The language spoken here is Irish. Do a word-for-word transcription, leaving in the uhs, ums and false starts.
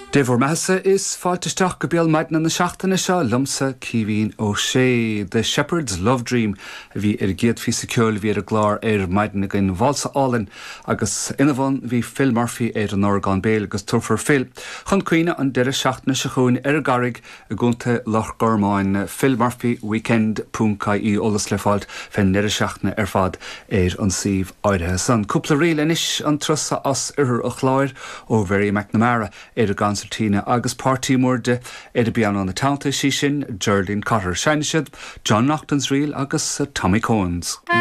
Dé bhur mbeatha is fáilte isteach go béal maidine na seachtaine seo liomsa Caoimhín Ó Sé. The Shepherd's Love Dream a bhí ar an gcéad phíosa ceoil a bhí ar an gclár ar maidin againn válsa álainn agus ina bhun bhí Phil Murphy ar an orgán béil agus tabharfar Phil chun cuimhne an deireadh seachtaine seo chugainn ar an gCarraig i gContae Loch Gormáin Phil Murphy Weekend ponc ie eolas le fáil fén ndeireadh seachtaine ar fad ar an suíomh áirithe san. Cúpla ríl anois an turas as oirthear an Chláir ó Mhary McNamara ar an gconsairtín agus páirtí mór di ar an bpianó ina teannta sí sin Geraldine Cotter. Seinnfidh siad John Naughton's Reel agus Tommy Cohen's.